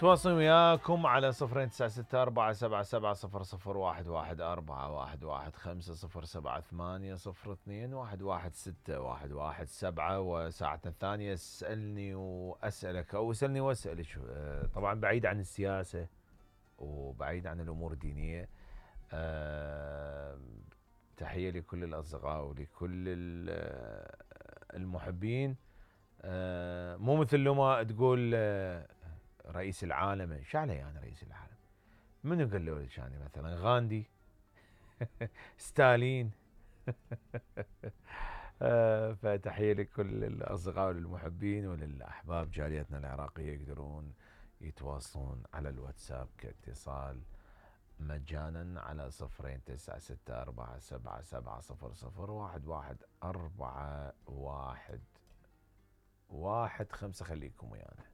تواصل وياكم على 096477700157802116117 وساعتنا الثانية اسألني وأسألك أو اسألني وأسألك. طبعا بعيد عن السياسة وبعيد عن الأمور الدينية. تحية لكل الأصدقاء ولكل المحبين. مو مثل لما تقول رئيس العالم، شعله يعني رئيس العالم؟ منو قال له يعني مثلا غاندي ستالين؟ فتحية لكل الأصدقاء والمحبين وللأحباب جاليتنا العراقية يقدرون يتواصلون على الواتساب كاتصال مجانا على 0964777001141 15. خليكم ويانا.